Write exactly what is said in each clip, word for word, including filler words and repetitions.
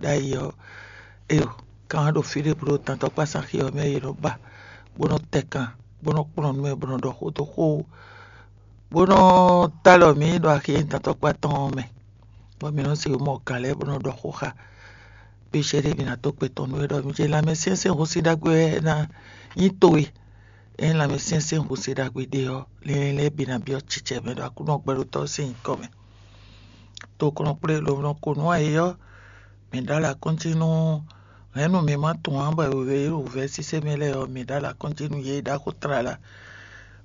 ɖ'ayǐ ɔ́, éyo, kan ɖo fí ɖé bó ɖo tantɔkpása xi ɔ́ mɛ yě nɔ ba, bó nɔ tɛ kan, bó nɔ kplɔ́n nú mɛ, bó nɔ ɖɔ xó dó xó, bó nɔ ta alɔ mǐ ɖo axi e nyí tantɔkpá tɔn ɔ́ mɛ, bɔ mǐ nɔ sixú mɔ gǎn lɛ́ɛ bó nɔ ɖɔ xó xá. Pécɛ́ ɖé mǐ ná dó kpɛtɔ́ nú wɛ ɖɔ mǐ ce lanmɛsyɛ́nsyɛ́n húsíɖagbe wɛ ná nyí towe. Ényí lanmɛsyɛ́nsyɛ́n húsíɖagbe ɖé ɔ́, linlɛn lɛ́ɛ bǐ ná byɔ́ cicɛ mɛ ɖo Aklúnɔ gbɛɖótɔ́ sín nyǐkɔ mɛ. Tokɔnɔ kplé lǒ nɔ ko nú ayǐ ɔ́, mǐ ɖó alɔ akɔ́njí nú hɛ̌nnu mǐ ma tunwun ǎ bɔ è wě ɖo wǔvɛ́ sísɛ́ mɛ lɛ́ɛ ɔ́, mǐ ɖó alɔ akɔ́njí nú yě e ɖó axó tlala,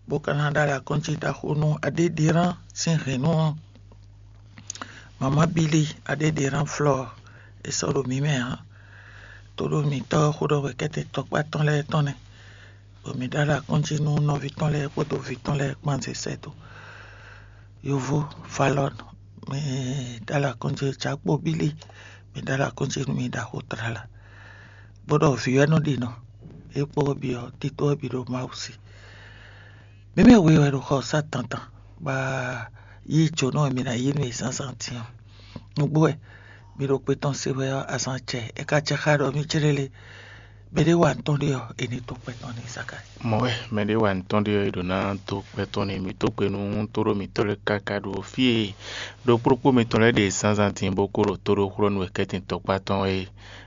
bó ka ná ɖó alɔ akɔ́njí ɖaxó nú Aɖéɖirán sín hɛ̌nnu ɔ́. Mamá Bílí, Aɖéɖirán Flɔ́ɔ, è sɔ́ ɖo mǐ mɛ ǎ. Tóɖó mǐtɔn xó ɖɔ wɛ kɛ́tɛn tɔkpá tɔn lɛ́ɛ tɔn nɛ́, bɔ mǐ ɖó alɔ akɔ́njí nú nɔví tɔn lɛ́ɛ kpódó vǐ tɔn lɛ́ɛ kpán zě sɛ́ dó. Yovó Falɔ́n, mǐ ɖó alɔ akɔ́njí, Jakpo Bílí, mǐ ɖó alɔ akɔ́njí nú mi ɖaxó tlala, bó ɖɔ vǐ wɛ nɔ ɖi nɔ, é kpó ɔ́ bǐ ɔ́, tito ɔ́ bǐ ɖo Mawu sí. Mǐ mɛ we wɛ ɖo xɔ sá tantan, bɔ yí jǒnɔ e mǐ ná yí nú yě zǎnzǎn din ɔ́. Nǔgbó wɛ mi ɖo kpe tɔn se wɛ ɔ́, azǎn acɛ, é ka jɛ xá ɖɔ mí jlé lé. Mɛɖé wa nǔ tɔn ɖé ɔ́, è nǐ dó kpɛ tɔn n'i Zakalíi. Mɔ̌ wɛ mɛɖé wa nǔ tɔn ɖé ɔ́, è ɖǒ ná dó kpɛ tɔn n'i. Mǐ dó gbe nú tóɖó mǐtɔn lɛ́ɛ káká ɖo fí e ɖokpóɖokpó mitɔn lɛ́ɛ ɖe zǎnzǎn din bó kó ɖo tó ɖó xlɔ́ nú wɛ kɛ́tin tɔkpá tɔn é.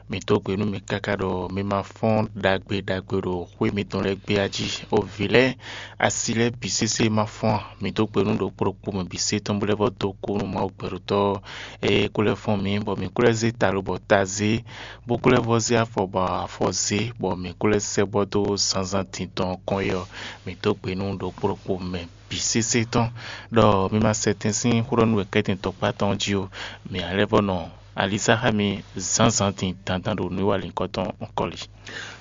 Mǐ dó gbe nú mi káká ɖɔ mi ma fɔ́n ɖagbe ɖagbe ɖo xwé mitɔn lɛ́ɛ gbé a jí. O vǐ lɛ́ɛ, asi lɛ́ɛ bǐ sésé ma fɔ́n a? Mǐ dó gbe nú ɖokpó ɖokpó mɛ bǐ sé tɔn bó lɛ́ vɔ́ dó kú nú Mawu gbɛɖótɔ́ e kó lɛ́ fɔ́n mǐ, bɔ mǐ kó lɛ́ zé ta lobɔ ta zé, bó kó lɛ́ vɔ́ zé afɔ bɔ afɔ zé, bɔ mǐ kó lɛ́ sɛ́ bɔ dó zǎnzǎn din tɔn kɔn é ɔ́, mǐ dó gbe nú ɖokpó ɖokpó mɛ bǐ sésé tɔn, ɖɔ mi ma sɛ tɛn sín xó ɖɔ nú wɛ kɛ́tin tɔkpá tɔn jí ó. Mǐ ná lɛ́ vɔ́ nɔ alisá xá mi zǎnzǎn din dandan ɖo nǔwiwa linkɔ tɔn kɔli.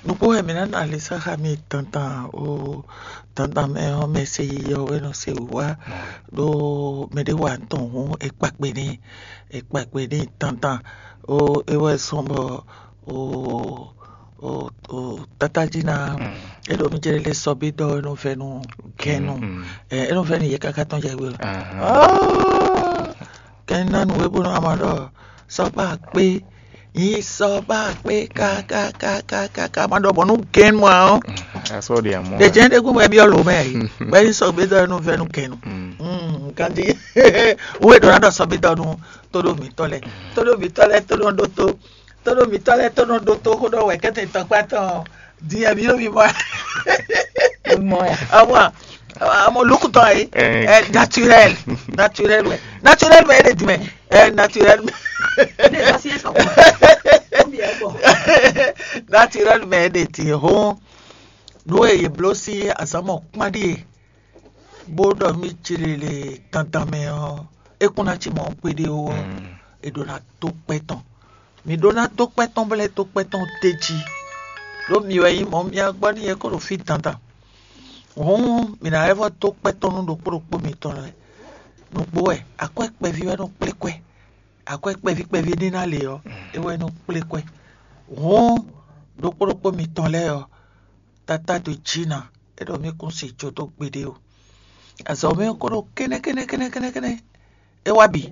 Nukpó wɛ mǐ ná nɔ alisá xá mi dandan o. Dandan mɛ ɔ́, mɛ se yiyi ɔ́ wɛ nɔ se wǔ wá, ɖó mɛɖé wa tɔn hǔn è kpa kpe n'i, è kpa kpe n'i dandan. O é wɛ sɔn bɔ o o o tata jí ná é ɖo mí jɛ lé sɔ́ bí dɔ é nɔ vɛ nú kɛnu. Ɛ é nɔ vɛ nú yɛ káká tɔn jɛ gbé. Kɛn ná nǔ e bó nɔ ama ɖɔ sɔ́ ba kpé yí sɔ́ ba kpé kákákákáká ma ɖɔ bɔ nú gɛn mɔ ɔ́. Asɔ ɖe amɔ. Ɖe jɛn ɖe gún bɛ byɔ lǒ mɛ yi bɛ yí sɔ́ gbé dɔ é nɔ vɛ nú kɛnu. Nkan jí wo e ɖo ná ɖɔ sɔ́ bí dɔ nú tóɖó mǐtɔn lɛ tóɖó mǐtɔn lɛ tóɖó ɖótó tóɖó mǐtɔn lɛ tóɖó ɖótó xó ɖɔ wɛ kɛ́tɛ tɔkpá tɔn. Din ɛ mi ɖo mi mɔ. Mɔ ya. Awa, amo lukutɔ yi. Ɛ naturel, naturel wɛ, naturel wɛ ele di mɛ. Ɛ naturel mɛ. Naturel mɛ ele di hɔn. Nú e yě bló sí azǎn mɔ kpán ɖíe bó ɖɔ mí jlele dandan mɛ ɔ́, é kún ná ci mɔ kpéɖé ó ɔ́, è ɖǒ ná dó kpɛ́ tɔn. Mǐ ɖó ná dó kpɛ́ tɔn bó lɛ́ dó kpɛ́ tɔn d'é jí, ɖó mi wɛ nyí mɔ̌ mía gbɔ n'i é ko ɖo fí dandan. Hǔn mǐ ná lɛ́ vɔ́ dó kpɛ́ tɔn nú ɖokpó ɖokpó mitɔn lɛ́ɛ. Nǔgbó wɛ akwɛ́ kpɛví wɛ nɔ kplé kwɛ́, akwɛ́ kpɛví kpɛví ɖé ná le ɔ́, é wɛ nɔ kplé kwɛ́. Hǔn ɖokpó ɖokpó mitɔn lɛ́ɛ ɔ́, tatá dó jí ná, é ɖɔ mí kún si jó dó gbeɖé o. Azɔ̌ mɛ ko ɖo kɛ́nɛ́ kɛ́nɛ́ kɛ́nɛ́ kɛ́nɛ́ kɛ́nɛ́, é wá bǐ.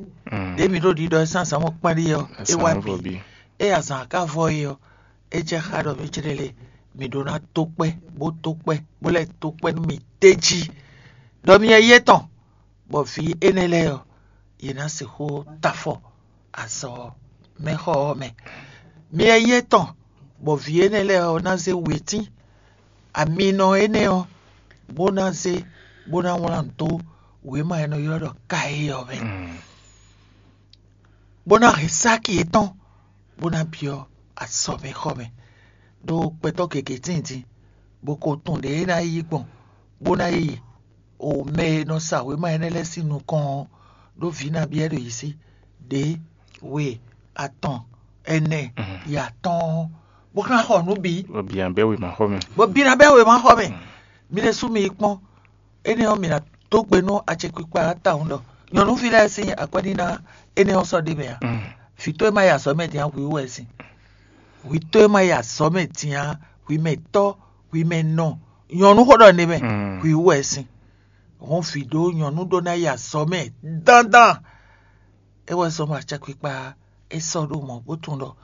Ɖě mǐ ɖo ɖiɖɔ ɛ sín azǎn mɔ kpán ɖíe ɔ́, é wá bǐ. Ée azǎn ka vɔ é ɔ́, é jɛ xá ɖɔ mí jlɛ́ lé mǐ ɖó ná tó kpɛ́ bó tó kpɛ́ bó lɛ́ tó kpɛ́ nú mì d'é jí, ɖɔ mi nyí yé tɔn, bɔ vǐ énɛ́ lɛ́ɛ ɔ́, yě ná sixú ta afɔ azɔ̌ mɛxɔ ɔ́ mɛ. Mi nyí yé tɔn, bɔ vǐ énɛ́ lɛ́ɛ ɔ́ ná zé wětín aminɔ énɛ́ ɔ́, bó ná zé bó ná wlán dó wěma e è nɔ ylɔ́ ɖɔ Kayi ɔ́ mɛ, bó ná hɛn sáki yětɔn, bó ná byɔ́ azɔ̌mɛxɔmɛ, ɖó gbɛtɔ́ gěgé tíin din, bó ko tunwun ɖě é ná yí gbɔn, bó ná yi o mɛ e nɔ sa wěma énɛ́ lɛ́ɛ sín nukɔn ɔ́, ɖó vǐ nabí wɛ ɖo yě sí, ɖě, we, atɔn, ɛnɛ, yi atɔ́ɔ́n, bó ká xɔ nǔ bǐ, Bɔ bǐ ná bɛ́ wěmaxɔmɛ. Bó bí ná bɛ́ wěmaxɔmɛ. Mi ɖésú mi yi kpɔ́n, énɛ́ ɔ́, mi ná dó gbe nú acɛkpikpa ɔ́ tawun ɖɔ nyɔ̌nuví lɛ́ɛ sín akwɛ́ níná énɛ́ ɔ́ sɔ́ ɖ'é mɛ ǎ. Vǐ towe ma yi azɔ̌ mɛ din ǎ, hwǐ wú wɛ sín. Hwǐ towe ma yi azɔ̌ mɛ din ǎ, hwǐ mɛ tɔ́, hwǐ mɛ nɔ, nyɔ̌nu xó ɖɔ nɛ mɛ, hwǐ wú wɛ sín. Hɔn vǐ ɖó nyɔ̌nu ɖó ná yi azɔ̌ mɛ dandan. É wɛ zɔ́n bɔ acɛkpikpa é sɔ́ ɖó mɔ̌ bó tunwun ɖɔ